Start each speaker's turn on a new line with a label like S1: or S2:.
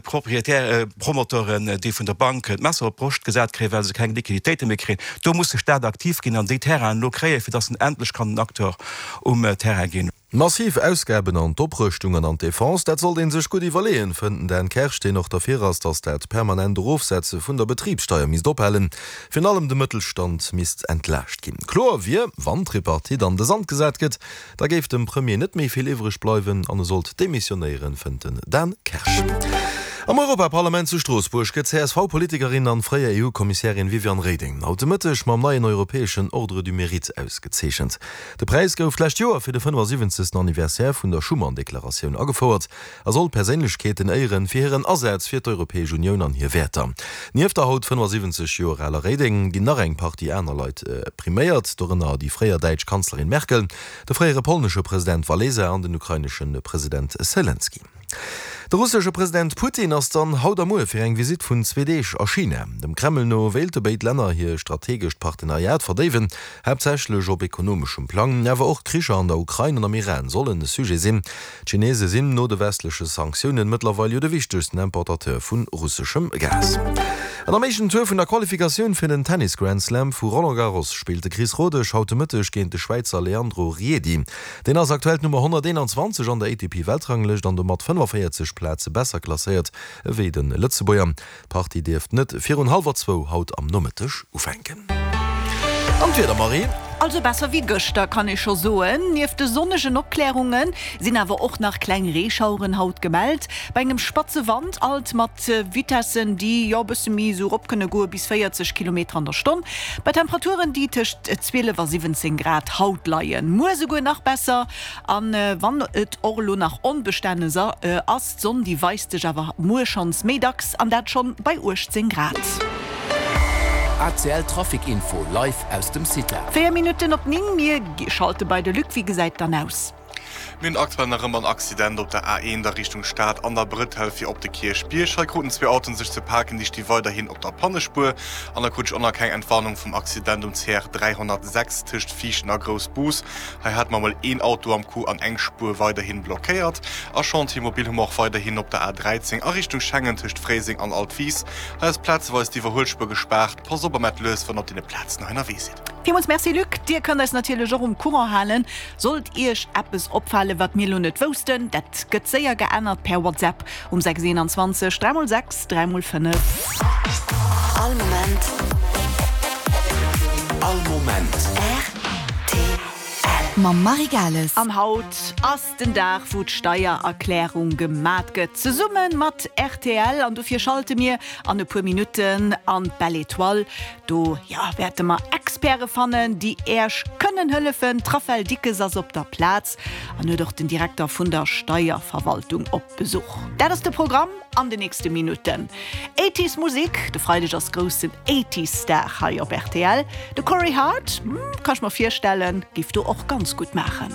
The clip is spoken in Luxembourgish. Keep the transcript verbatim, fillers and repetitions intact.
S1: Propriétaire, Promoteuren, déi vun der Bank d'Messer op d'Broscht gesat kréien, well se keng Liquiditéite méi kréien. Do muss de Staat aktiv ginn an déi Terrainen elo kréien, fir datt en endlech kann en Acteur um Terrain ginn.
S2: Massiv Ausgaben an d'Oprëschtung an an d'Defense, dat sollt ee sech gutt iwwerleeën, fënnt den Dan Kersch, deen och derfir ass, datt dat permanent Erofsetze vun der Betribssteier misst ophalen. Virun allem de Mëttelstand misst entlaascht ginn. Kloer wier, wann d'Tripartite an de Sand gesat gëtt, da géif dem Premier net méi vill iwwreg bleiwen an e sollt demissionéieren, fënnt den Dan Kersch. Am Europaparlament zu Stroossbuerg gëtt d'CSV-Politikerin an fréier EU-Kommissärin Viviane Reding haut de Mëtteg mam neien europäeschen Ordre du Mérite ausgezeechent. De Präis gouf d'lescht Joer fir de fënnefasiwwenzegsten Anniversaire vun der Schuman-Deklaratioun agefouert a soll Perséinlechkeeten éieren fir hiren Asaz fir d'Europäesch Unioun an hir Wäerter. Nieft der haut fënnefasiwwenzeg Joer aler Reding ginn nach eng Partie aner Leit priméiert, dorënner déi fréier däitsch Kanzlerin Merkel, de fréiere polnesche President Walesa an den ukrainesche President Selenskyj. De russesche President Putin ass dann haut a muer fir eng Visitt vun zwee Deeg a China. Dem Kreml no wéilte béid Länner hir strategescht Partenariat verdéiwen, haaptsächlech op ekonomeschem Plang. Awer och d'Kricher an der Ukrain an am Iran sollen e Sujet sinn. D'Chinese sinn no de westleche Sanktiounen mëttlerweil jo de wichtegsten Importateur vu russeschem Gas. An am éischten Tour vun der Qualifikatioun fir den Tennis Grand Slam vu Roland Garros spillt de Chris Rodesch haut de Mëtteg géint de Schwäizer Leandro Riedi. Deen ass aktuell d'Nummer honnerteenanzwanzeg an der A T P-Weltranglëscht an domat fënnefaféierzeg Plaze besser klasséiert ewéi de Lëtzebuerger. D'Partie dierft net virun hallwer zwou haut am Nomëtteg ufänken. An d'Wieder, Marie?
S3: Also besser wéi gëschter, kann ee scho soen. Nieft de sonnegen Opklärunge sinn awer och nach kleng Reeschaueren haut gemellt. Bei engem spatze Wand, alt mat Vitessen, déi jo e bësse méi esou erop kënne goe bis véierzeg Kilometer an der Stonn. Bei Temperaturen, déi tëscht zwielef a siwwenzéng Grad haut leien. Muer esouguer nach besser. An wann et och elo nach onbestänneg ass, d'Sonn déi weist sech awer muer schonns méi dacks, an dat schonn bei uechtzéng Grad.
S4: A C L Trafic Info live aus dem CITA.
S3: Véier Minutten op néng, mir schalte bei de Luc. Wéi gesäit dann aus?
S5: Mir hunn aktuell nach ëmmer en Accident op der A eent a Richtung Stad an der Bretelle fir op de Kierchbierg. Hei kruten zwee Autoen sech ze paken, déi sti weiderhin op der Pannespuer. An da krut ech och nach keng Entwarnung vum Accident um C R dräihonnertsechs tëscht Viichten a Groussbus. Hei hate mer mol een Auto am Coup an eng Spuer weiderhin blockéiert. A Chantier mobile hu mer och weiderhin op der A dräizéng a Richtung Schengen tëscht Fréiseng an Altwis. Hei ass plazeweis d'Iwwerhuelspuer gespaart. Passt op a maacht lues, wann der op deene Plazen hei ënnerwee sidd.
S3: Villmools Merci Luc. Dir kënnt eis natierlech och um Courant halen, sollt Iech eppes opfalen, wat mir elo net woussten. Dat gëtt séier geännert per WhatsApp um sechs eenanzwanzeg dräi mol sechs dräi mol fënnef.
S6: All Moment.
S4: All Moment.
S6: R T L. Mam Marie Gales.
S3: An haut ass den Dag, wou d'Steiererklärung gemat gëtt, zesumme mat R T L. An dofir schalte mir an e puer Minutten an d'Belle Étoile. Do, jo, wäerte mer Experte fannen, déi Iech kënnen hëllefen. D'Raphaëlle Dickes ass op der Plaz an huet och den Direkter vun der Steierverwaltung op Besuch. Dat ass de Programm an den nächste Minutten. Eighties Musek, de Freideg ass groussen Eighties Dag hei op R T L. De Corey Hart, hm, kann ech mer virstellen, géif do och ganz gutt maachen.